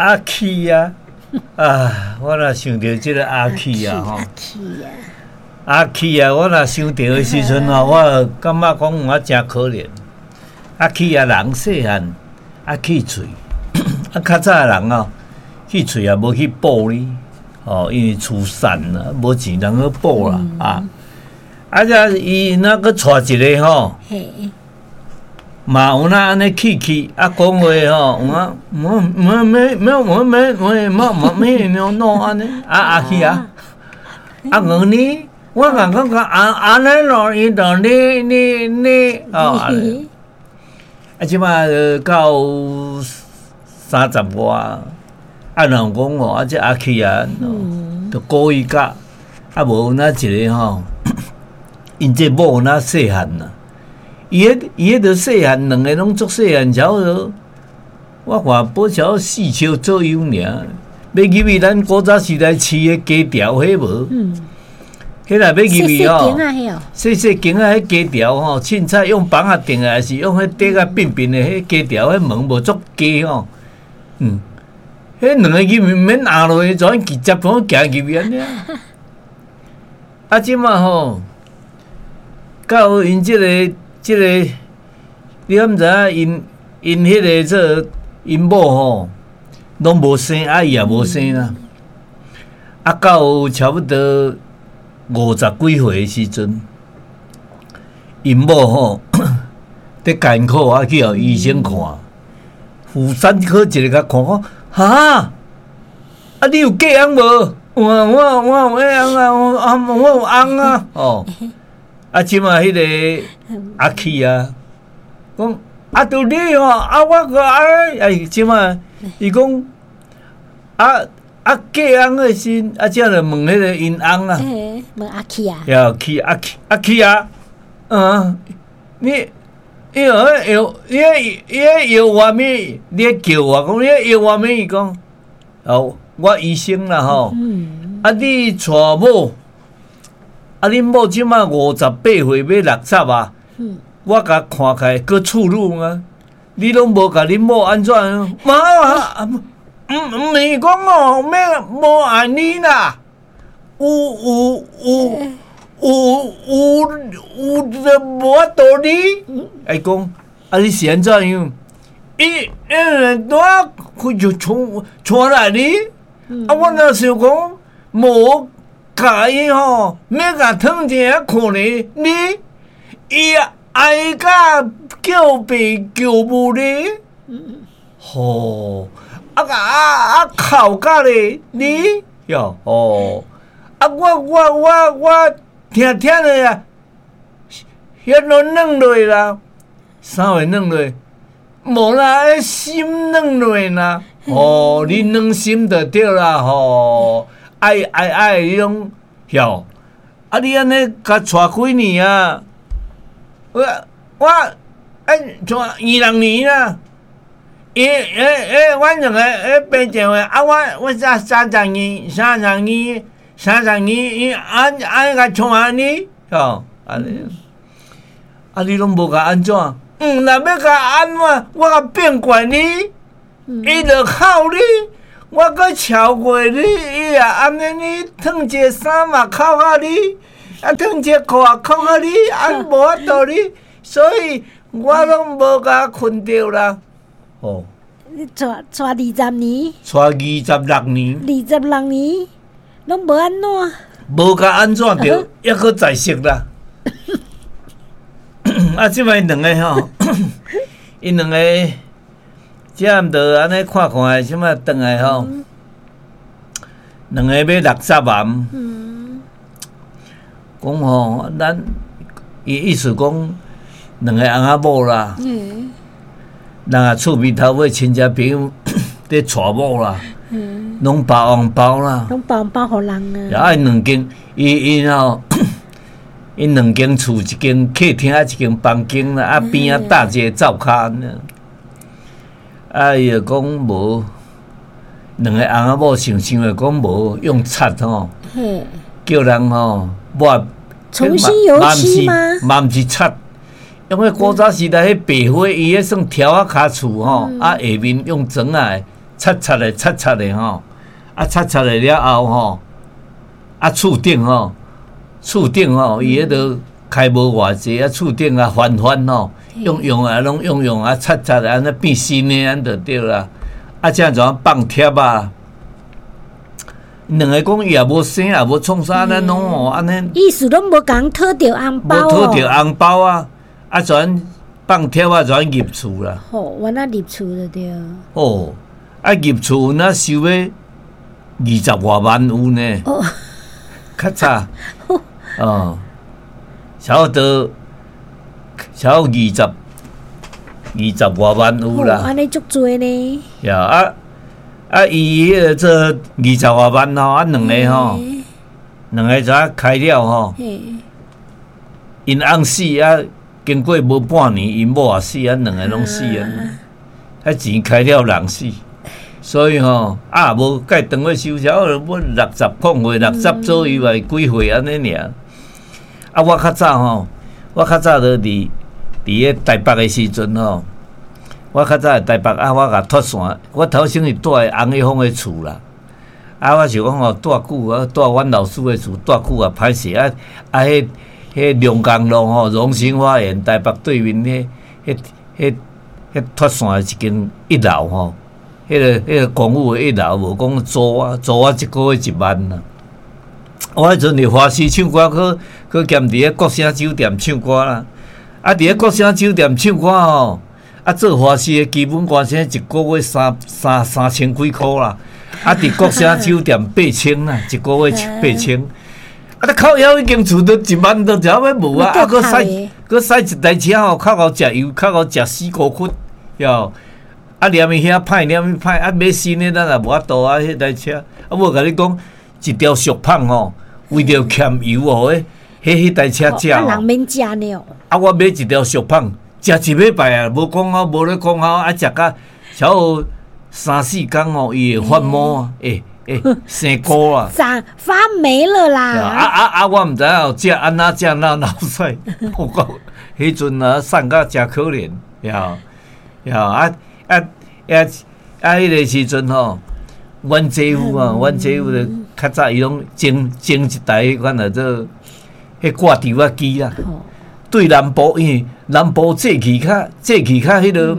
阿起啊，啊！我若想著這个阿起啊，吼，阿起啊，阿起啊！我若想著的時陣吼，我感覺講我誠可憐。阿起啊，人細漢，啊去喙，啊較早的人哦，去喙也無去補呢，哦，因為厝散啦，無錢通去補啦，啊！啊，這伊若閣娶一个吼。嘛有那按呢去去啊，講話吼，有影無沒沒沒沒沒沒沒沒弄按呢啊阿去啊，啊我呢，我講講講按按呢咯，伊就你你你哦，啊這馬到三十外，啊人講哦，啊這阿去啊，就故意教，啊無那一个吼，𪜶這某那細漢啦。伊彼伊彼著細漢，兩个攏足細漢，差不多。我看保差四尺左右爾。欲入去咱古早時代飼的雞條，彼無？彼若欲入去吼，細細間仔彼雞條吼，凊彩用枋仔釘的，還是用彼底較扁扁的彼雞條，彼門無足低吼。彼兩个入去毋免壓落去，就按直接講行入去按呢。啊，這馬吼，到𪜶這个。這个你敢知影？𪜶𪜶彼个做𪜶某吼，攏無生，啊伊也無生啦。啊，到差不多五十幾歲的時陣，𪜶某吼佇艱苦啊，去予醫生看，婦產科一个共看講，哈，啊你有嫁翁無？有啊，我我有嫁翁啊，我啊我有翁啊，哦。啊，這馬彼个阿起啊，講啊，著你吼，啊，我閣哎，這馬伊講啊啊嫁翁的時，啊，這就問彼个𪜶翁啊，問阿起啊，要起阿起阿起啊，嗯，你伊個藥，伊個伊个藥外面，你叫我講，你藥外面伊講，哦，我醫生啦吼，啊，你娶某。啊！恁某這馬58歲，欲60啊！我共看起來閣處女啊！你攏無共恁某按怎？媽啊！毋毋是講哦，欲無愛你啦！有有有有有有就無法度你。伊講啊！你是按怎樣？伊因拄仔佢就娶娶來你，啊！我若想講無。共伊吼，欲共褪一下看咧，你伊愛甲叫爸叫母咧，吼，啊啊啊哭甲咧，你喲吼，啊我我我我聽聽咧啊，彼落軟落啦，啥會軟落？無啦，彼心軟落啦，吼，你軟心就對啦，吼。愛愛愛，彼種曉啊！你按呢共娶幾年啊？我我哎，娶26年啦。伊欸欸，阮兩個欸爸丈的啊，我我才三十二，三十二，三十二，伊按按共娶按呢？吼，按呢？啊，你攏無共按怎？嗯，若欲共按怎？我共變怪你，伊就哭你。我閣超過你，伊也按呢你脫一個衫嘛哭甲你，啊脫一个褲也哭甲你，啊無法度你，所以我攏無共睏著啦。哦，你娶娶20年？娶26年。26年，攏無按怎？無共按怎著，抑閣在熟啦。啊，這擺兩个吼，𪜶兩个。這毋著按呢看看，啥物轉來吼？兩个欲60啊！講吼，咱伊意思講，兩个翁仔某啦，人啊厝邊頭尾親戚朋友佇娶某啦，攏包紅包啦，攏包紅包予人啊！啊，𪜶兩間，伊𪜶吼，𪜶兩間厝一間客廳啊，一間房間啦，啊邊仔搭一個灶跤。啊！伊就講無兩个翁仔某想想就講無用漆吼，叫人吼抹重新油漆嗎？嘛毋是漆，因為古早時代彼白花，伊彼算柱仔跤厝吼，啊下面用磚仔的，擦擦的擦擦的吼，啊擦擦的了後吼，啊厝頂吼，厝頂吼，伊彼個開無偌濟，啊厝頂啊翻翻吼，用用啊攏用用啊擦擦的，按呢變新的按就對啦。啊，這樣怎放貼啊？兩个講伊也無生也無創啥，按呢攏吼按呢。意思攏無共討著紅包無討著紅包啊！啊，全放貼啊，全入厝啦。吼，原來入厝就對。哦，啊入厝若收欲20外萬有呢。哦。較早。哦。差不多，差不多20外萬有啦。按呢足濟呢。呀啊啊！伊彼个做20外萬吼，啊兩个吼，兩个就啊開了吼。𪜶翁死啊，經過無半年，𪜶某也死啊，兩个攏死啊。彼錢開了人死，所以吼啊無蓋當欲收，差不多60空歲，六十左右啊，幾歲按呢爾。啊，我較早吼，我較早就佇咧台北的時陣吼，我較早佇台北啊，我共脫線，我頭先是住佇翁一峰的厝啦。啊，我想講吼，住久啊，住阮老師的厝住久啊，歹勢啊啊！彼龍江路吼，榮興花園台北對面彼脫線的一間一樓吼，彼個公寓的一樓，無講租啊，租我一個月1萬啦。我彼陣佇華視唱歌，閣兼佇咧國城酒店唱歌啦。啊，佇咧國城酒店唱歌吼，啊做華視的基本歌星一個月三千幾箍啦。啊，佇國城酒店8000啦，一個月八千。啊，你靠腰已經厝都1萬都差欲無啊！啊，閣駛閣駛一台車吼，較夠食油，較夠食死五窟，喲。啊，連伊遐歹，連伊歹，啊，買新的咱也無法度啊，彼台車。啊，我共你講，一條俗麭吼，為著儉油哦，彼台車食。啊，人免食呢。啊，我買一條俗麭，食一禮拜啊，無講好，無咧講好，啊，食甲差不多三四工吼，伊會發毛啊，欸，生菇啊，長發霉了啦！啊啊啊！我毋知影食按怎食哪流屎，我講彼陣啊，瘦甲誠可憐，呀呀啊啊啊啊！彼个時陣吼，阮姐夫啊，阮姐夫就較早伊攏整整一台彼款來做彼掛吊仔機啦。對南部，因為南部早起較彼个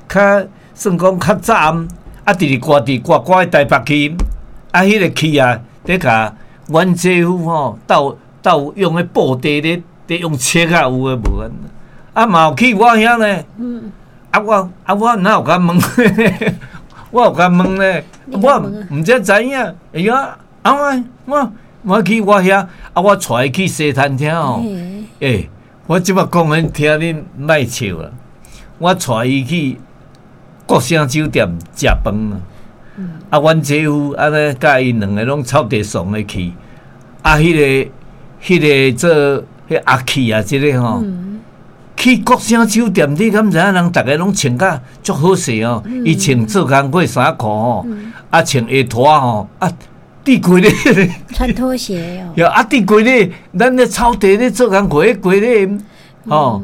較算講較早暗，啊，直直掛佇掛掛佇台北去。啊，彼个氣啊，咧共阮姐夫吼鬥鬥用彼布袋咧用切啊，有的無的。啊，嘛有去我遐呢。啊，我哪有共問？我有共問咧，我毋才知影。哎呀，啊我去我遐，啊，我帶伊去西餐廳吼。欸，我這擺講恁聽恁莫笑啦。我帶伊去國城酒店食飯啊。啊，阮姐夫按呢，佮𪜶兩个攏草地倯的去。啊，彼个做彼阿氣啊，這个吼，去國城酒店，你敢知影人逐个攏穿甲足好勢哦？伊穿做工課衫褲吼，啊穿鞋拖吼，啊佇規咧穿拖鞋哦。啊，佇規咧，咱咧草地咧做工課，彼規咧，吼，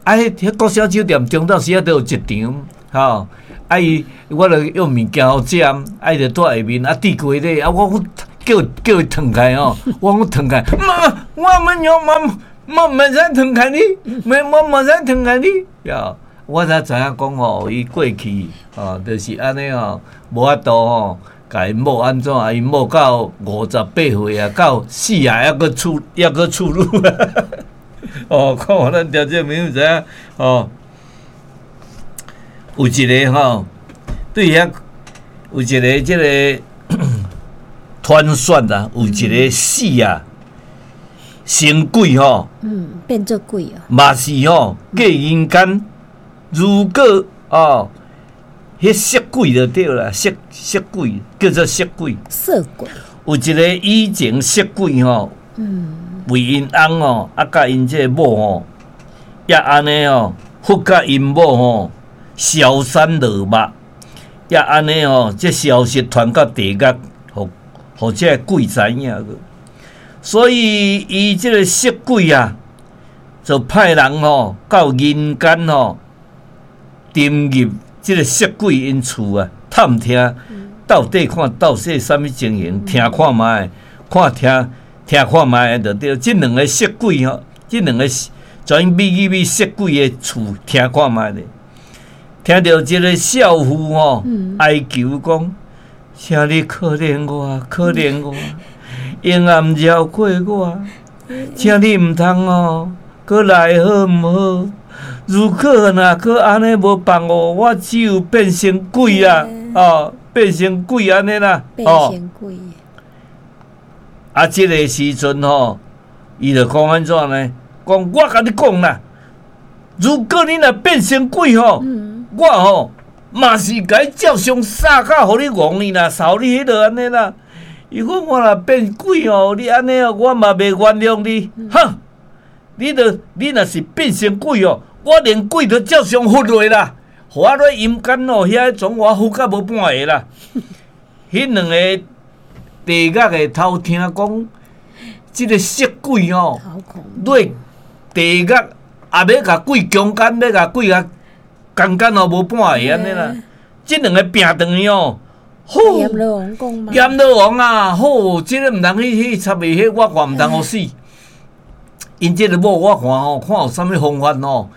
啊，彼國城酒店中晝時仔都有一場，吼。啊伊，我著用物件予食，啊伊就蹛下面啊佇規咧，啊我講叫伊褪開吼，我講褪開，媽，我們有媽，我毋使褪開你，沒我毋使褪開你，呀，我才知影講吼，伊過去吼，就是按呢吼，無法度吼，共𪜶某按怎，𪜶某到58歲啊，到死啊，猶閣處猶閣處女啊，哦，看咱聽眾朋友知影哦，有一个吼。對遐有一个這个傳說啊，有一个死啊，成鬼吼，變做鬼哦，嘛是吼，過人間，如果哦，彼色鬼就對啦，色鬼叫做色鬼，色鬼，有一个以前色鬼吼，為𪜶翁吼，啊，佮𪜶這個某吼，也按呢吼，佛佮𪜶某吼，消散落肉。也按呢吼，這消息傳到地獄，予這个鬼知影去。所以伊這个色鬼啊，就派人吼到人間吼，沉入這个色鬼𪜶厝啊，探聽。到底看到底啥物情形，聽看覓，看聽聽看覓就對。這兩个色鬼吼，這兩个專美去美色鬼的厝聽看覓咧。聽著這个少婦吼哀求講，請你可憐我，可憐我，永也毋饒過我，請你毋通哦，閣來好毋好？如果若閣按呢無放我，我只有變成鬼啊！哦，變成鬼按呢啦！變成鬼。啊，這个時陣吼，伊就講按怎呢？講我共你講啦，如果你若變成鬼吼，我吼嘛是共照常殺甲予你戇呢啦，臊你彼落按呢啦。如果我若變鬼吼，你按呢哦，我嘛袂原諒你。哼，你著你若是變成鬼哦，我連鬼都照常罰落啦，予我落陰間哦，遐總我罰甲無半个啦。彼兩個地獄的偷聽講，這个色鬼吼，落地獄也欲共鬼強姦，欲共鬼共強姦哦，無半个按呢啦。這兩个拚轉去哦，好，閻羅王講嘛，閻羅王啊，好，這个毋通去插伊，彼我看毋通予死。𪜶這个某我看吼，看有啥物方法吼，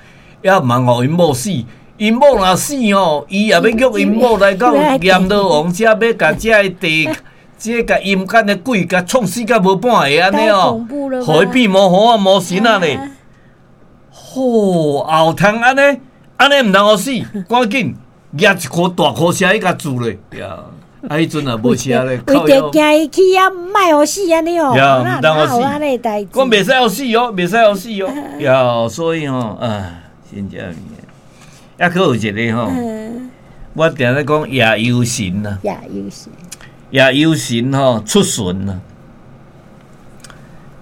也毋通予𪜶某死。𪜶某若死吼，伊也欲叫𪜶某來到閻羅王遮，欲共這个地，這个陰間的鬼共創死甲無半个按呢哦，予伊變魔猴啊魔神啊咧。好，後通按呢，按呢毋通予死，趕緊舉一箍大箍車去共注咧。啊，彼陣也無車咧，為著驚伊去遐，莫予死按呢哦，毋通予死，講袂使予死哦，袂使予死哦。呀，所以吼，啊，真正抑閣有一个吼，我定咧講夜遊神啊，夜遊神，夜遊神吼出巡啊，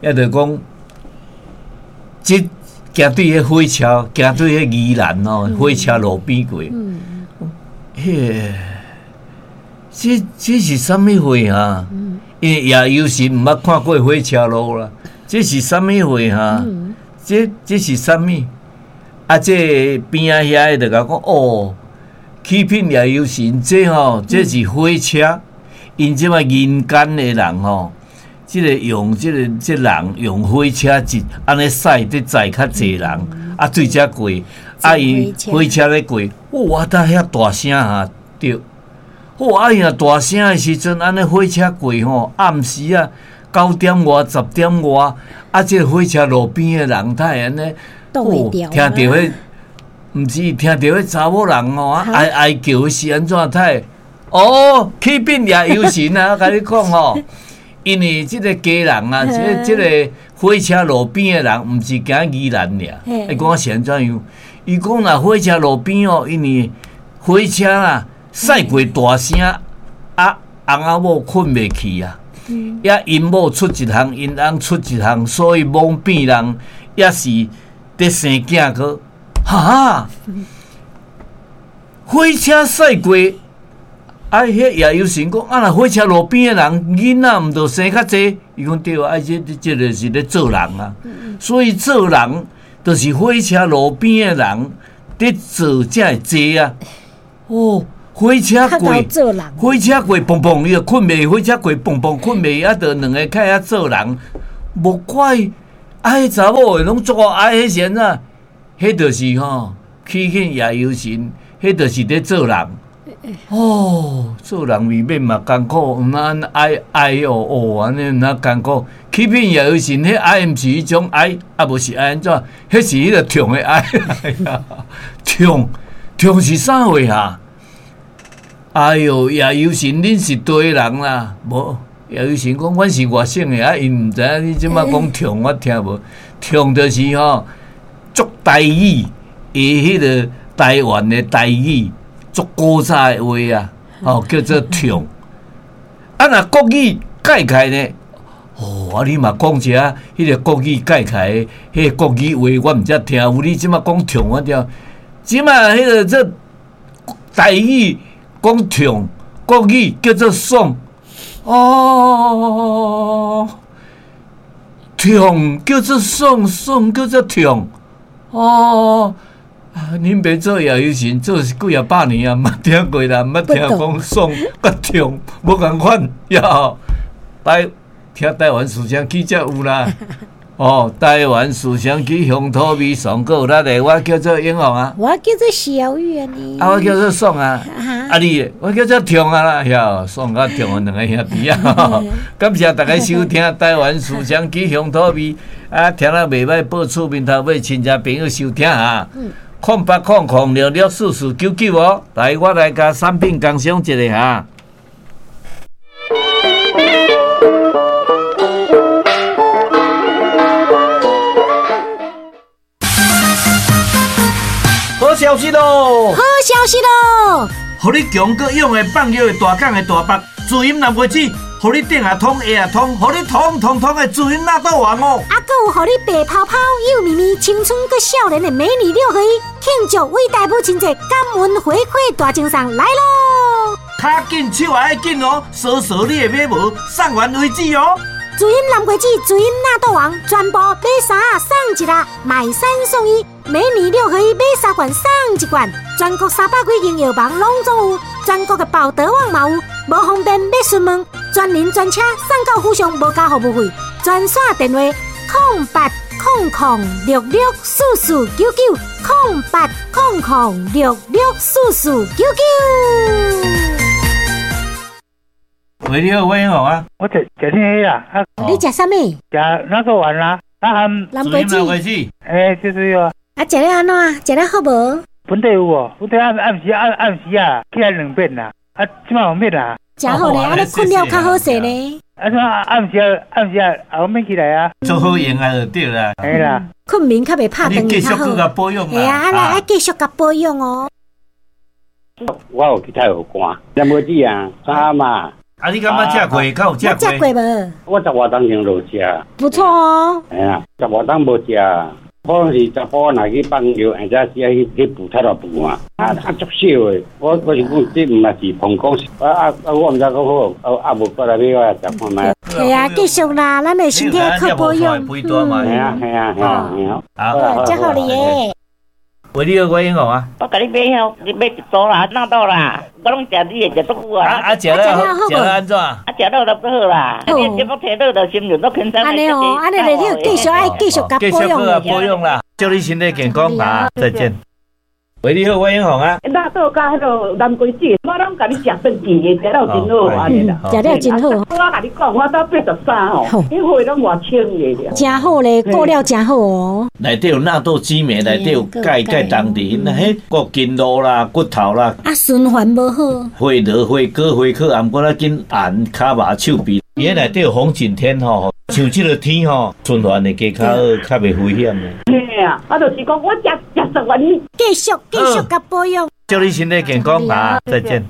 抑就講，這行對彼火車，行對彼宜蘭吼，火車路邊過，彼个。這是啥物貨啊？因為夜遊神毋捌看過火車路啦。這是啥物貨啊？這是啥物？啊，這邊仔遐个就共講哦，啟稟夜遊神，這吼這是火車。𪜶這擺人間的人吼，這个用這个這人用火車一按呢駛佇載較濟人，啊對遮過，啊伊火車咧過，哇！搭遐大聲哈，對。哦，啊伊若大聲的時陣，按呢火車過吼，暗時啊九點外、10點外，啊，這个火車路邊的人，他會按呢，哦，聽著彼，毋是聽著彼查某人吼，哀哀叫是按怎？他會哦，啟稟夜遊神啊！我共你講吼，因為這个家人啊，這個火車路邊的人，毋是行宜蘭爾，伊講是按怎樣？伊講若火車路邊哦，因為火車啊。駛過大聲，啊，翁仔某睏袂去啊，抑𪜶某出一項，𪜶翁出一項，所以罔變人，抑是佇生囝閣，哈，火車駛過，啊，彼夜遊神講，啊，若火車路邊的人囡仔毋著生較濟？伊講對啊，這個是咧做人啊，所以做人就是火車路邊的人佇做才會濟啊，哦。火車過，火車過，砰砰，伊就睏袂。火車過，砰砰，睏袂。啊，著兩个較曉做人，無怪啊！彼查某的攏足夠愛，彼是按怎？彼就是吼，啟稟夜遊神，彼就是佇做人。哦，做人未免嘛艱苦，毋通哀哀哦哦，按呢毋通艱苦。啟稟夜遊神，彼哀毋是彼種哀，啊無是哀按怎？彼是彼个痛的哀，痛痛是啥貨啊？哎喲，夜遊神，恁是佗位人啦？無，夜遊神講，阮是外省的，啊，𪜶毋知影你這擺講痛，我聽無。痛就是吼，足台語，伊彼个台灣的台語，足古早的話啊，吼叫做痛。啊，若國語改起來呢？哦，啊，你嘛講一下，彼个國語改起來，彼个國語話，我毋才聽有。你這擺講痛，我聽。這擺彼个這台語。講痛，國語叫做爽，哦，痛叫做爽，爽叫做痛，哦，啊，恁爸做夜游神做是幾仔百年啊，毋捌聽過啦，毋捌聽講爽佮痛，無仝款呀。來聽台灣思想起才有啦。哦，台灣思想起鄉土味上閣有力的，我叫做英雄啊。我叫做小雨啊你。啊，我叫做爽啊。啊你，我叫做痛啊啦，呀，爽佮痛啊兩个兄弟啊。感謝大家收聽台灣思想起鄉土味，啊，聽了袂䆀，報厝面頭尾親戚朋友收聽啊。0800664499哦，來，我來共產品工商一下哈。好消息囉！好消息囉！予你強閣勇的放藥的大港的大北，滋陰南瓜子，予你頂也通，下也通，予你通通通的滋陰納豆王哦！啊，閣有予你白泡泡、幼咪咪、青春閣少年的美女六合一，慶祝偉大母親節，感恩回饋大贈送來囉！跤緊手也愛緊哦，掃掃你的尾毛，送完為止哦！滋陰南瓜子、滋陰納豆王，全部買三送一啦，買三送一，美女六合一買三罐送一罐，全國300幾間藥房攏總有，全國的寶德網嘛有，無方便欲詢問，專人專車送到府上，無加服務費，專線電話0800664499，0800664499。喂，你好，我英雄啊！我食食啥啊？啊，你食啥物？食納豆丸啦，啊含南瓜子。南瓜子。欸，就是啊。啊，食了按怎？食了好無？本地有無？本地暗暗時暗暗時啊，起來兩遍啦。啊，這擺有免啦。誠好咧，按呢睏了較好勢呢。啊，這暗時啊，暗時啊，也免起來啊。做好用啊，就對啦。嘿啦。睏眠較袂拍斷你繼續閣共保養啦。嘿啊，啊來愛繼續共保養哦。我有去太和肝，南瓜子啊，三嘛。啊！你感覺食過？敢有食過？食過無？我十外冬前就食。不錯哦。嘿啊，十外冬無食，可能是查甫若去放尿，或者是去去補太大補啊。啊啊，足少的。我我是講，這毋嘛是膀胱，啊啊啊！我毋知講好，啊啊無過來買我食看覓。係啊，繼續啦，咱的身體靠保養。係啊係啊係啊係啊。好，真好哩耶。喂，你好，我英雄啊！我共你買遐，你買一組啦，納豆啦，我攏食你的，食足久啊！啊，食了，食了按怎？啊，食了就好啦。你這目提倒就心情都輕鬆。按呢哦，按呢就你繼續愛繼續共保養啦，保養啦，祝你身體健康啊！再見。喂，你好，我英雄啊！納豆佮彼个南瓜子，我攏共你食轉去的，食了真好，按呢啦。食了真好。我共你講，我到83吼，彼血攏偌清的。真好咧，過了真好哦。內底有納豆激酶，內底有鈣鈣當地，那彼個筋肉啦、骨頭啦。啊，循環無好。血流、血高、血可，毋過咱緊按跤肉手臂，伊彼內底有紅景天吼，像這个天吼，循環會加較好，較袂危險的。嘿啊，啊，就是講我食食十元。繼續繼續共保養，祝你身體健康啊！再見。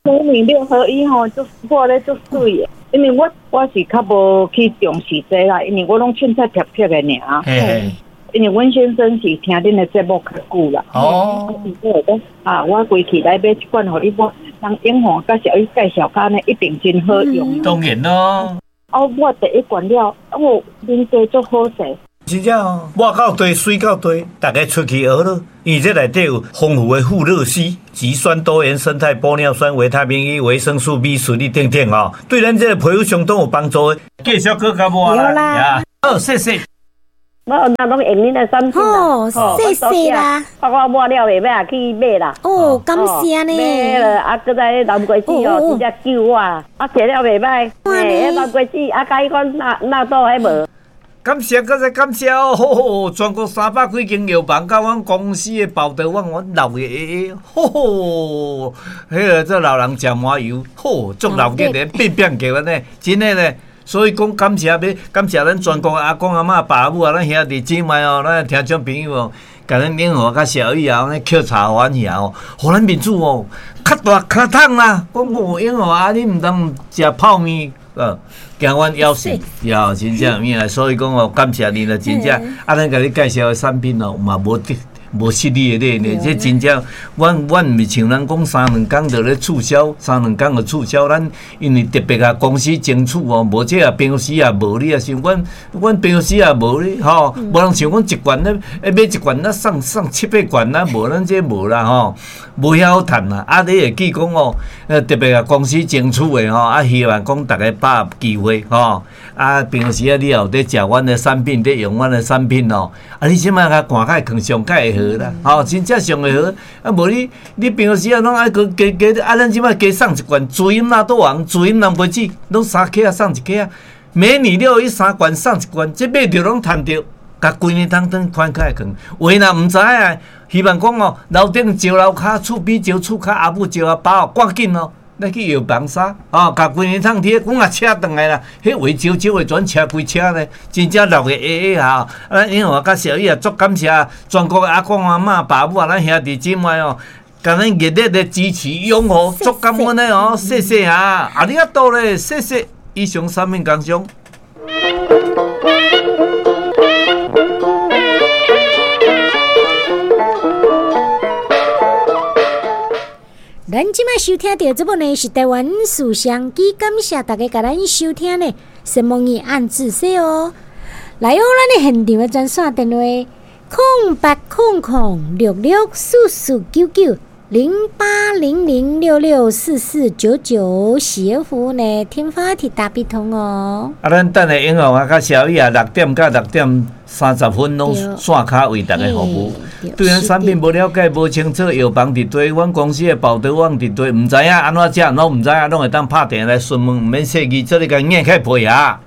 美女六合一吼，足抹咧足媠的，因為我我是較無去重視這啦，因為我攏凊彩貼貼的爾。嘿。因為阮先生是聽恁的節目較久啦。哦。啊，我規氣來買一罐，予你抹，人英雄佮小伊介紹較呢，一定真好用。當然咯。哦，抹第一罐了，哦，面皮足好勢。真正哦，抹到地，水到地，大家出去學咯。因為這內底有豐富的富勒烯、植酸多元生態玻尿酸、維他命 E、維生素 B 群等等哦，對咱這個皮膚相當有幫助的。繼續閣較抹啦。好，謝謝。我那攏用恁的產品啦，謝謝啦。我抹了袂歹，去買啦。哦，感謝呢。買了啊，閣在南瓜子哦，直接救我，啊，食了袂歹。嘿，南瓜子啊，佮彼款納納豆彼無。感謝，閣再感謝哦！吼吼，全國300幾間藥房，佮阮公司的報道，阮阮鬧熱熱，吼吼，彼个這老人食麻油，吼，足鬧熱的，變變叫按呢，真的咧。所以講感謝欲感謝咱全國的阿公阿嬤、爸母啊，咱兄弟姊妹哦，咱聽眾朋友哦，共咱英和佮小雨啊，按呢抾柴歡喜哦，予咱面子哦，較大較痛啦。講哦，英和啊，你毋通食泡麵。驚阮枵死，枵真正有影，所以講哦，感謝你啦，真正。啊，咱共你介紹的產品哦，嘛無得無失禮的禮呢。這真正，阮毋是像人講三兩工就咧促銷，三兩工就促銷。咱因為特別啊，公司爭取哦，無這啊平常時也無你啊，像阮平常時也無你吼，無人像講一罐咧，買一罐啊送七八罐啊，無咱這無啦吼，無遐好趁啦。啊，你會記講哦，特別啊公司爭取的吼，啊希望講逐家把握機會吼。啊，平常時啊，你也有佇食阮的產品，佇用阮的產品哦。啊，你這擺共看較會囥上較會好啦，吼，真正上會好。啊，無你平常時啊，攏愛閣加加，啊，咱這擺加送一罐注音納豆王，注音南瓜子，攏3克啊送1克啊。每年了伊3罐送1罐，這買著攏趁著，共規年當當寬較會囥。有的若毋知影，希望講哦，樓頂招樓跤，厝邊招厝跤，阿母招阿爸哦，趕緊哦。咱去藥房啥？哦，共規年通貼，阮也車轉來啦。彼話招招的全車規車咧，真正六个下下啊！咱英雄佮小雨也足感謝全國的阿公阿嬤、爸母啊，咱兄弟姊妹哦，共咱熱烈的支持擁護，足感恩的哦，謝謝啊！啊你啊多咧，謝謝以上產品工商。咱這擺收聽著這部呢是台灣事商機，感謝大家共咱收聽呢，什麼語按字說哦。來哦，咱的現場的專線電話：0800664499，0800664499，喜服呢，天發鐵大必通哦。啊，咱等下英雄啊，佮小雨啊，6點到6點30分攏線跤為大家服務。對咱產品無了解、無清楚，藥房佇佗，阮公司的寶德網佇佗，毋知影按怎食，攏毋知影，攏會當拍電話來詢問，毋免說字，做你共硬開配合。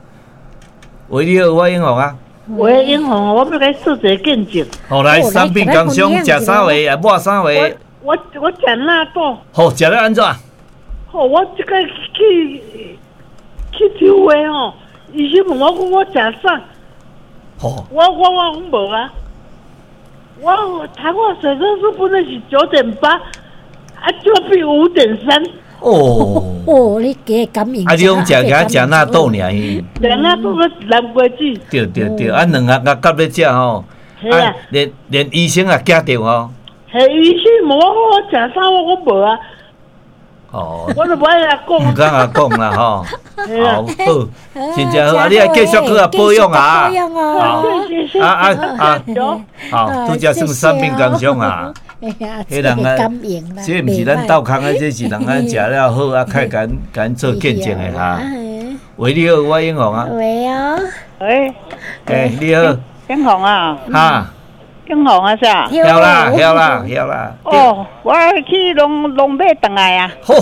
喂，你好，我英雄啊。喂，英雄，我欲共你做一個見證。好來，產品工商食啥話啊？抹啥話？我食納豆。好，食了按怎？好，我這個去抽血吼，醫生問我講我食啥？好。我講無啊。我糖化血色素本來是9.8，啊，就變5.3。哦哦，你加感應。啊，你講食個食納豆爾？食納豆閣南瓜子。對對對，啊，兩盒夾咧食吼，啊，連醫生也驚著吼。係醫生問我我食啥，我講無啊。哦，我都無愛共講。毋敢共講啦吼。好，好，真正好，啊！你愛繼續閣保養啊。保養哦。啊啊啊！好，拄才算產品工商啊。彼人啊，這毋是咱鬥空的，這是人咱食了好啊，開共咱做見證的哈。喂，你好，我英雄啊。喂哦。喂。欸，你好。英雄啊。哈。英雄啊，啥？曉啦，曉啦，曉啦。哦，我去攏買轉來啊。好，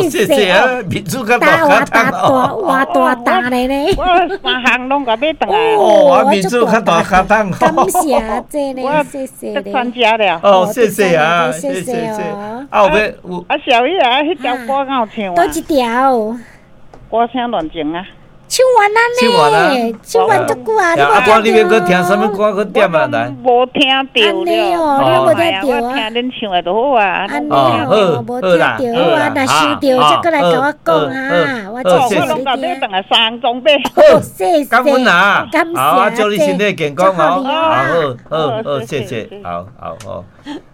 謝謝啊，民主較大較大，哇大大咧咧。我三項攏共買轉來。哦，啊，民主較大較大。感謝這咧，謝謝咧。參加了。哦，謝謝啊，謝謝。啊，有啊，小雨啊，彼條歌敢有唱啊？佗一條？歌聲亂情啊。唱完啦呢，唱完足久啊！啊，歌你欲閣聽啥物歌？閣點啊來？無聽著了，哦，你無聽著啊？我聽恁唱的就好啊。按呢哦，無聽著好啊，若收著才閣來共我講啊。我我攏共買轉來三裝買。好，謝謝。感恩啊！感謝。好，祝你身體健康哦。好好好，謝謝。好好好。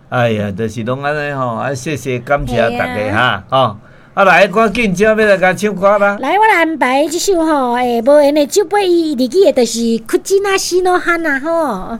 哎呀，就是攏按呢吼，啊，謝謝感謝大家哈，吼。啊來，趕緊，這欲來共唱歌啦！來，我來安排這首吼，無緣的酒杯，伊日語的，就是《苦吉那西諾哈娜》吼。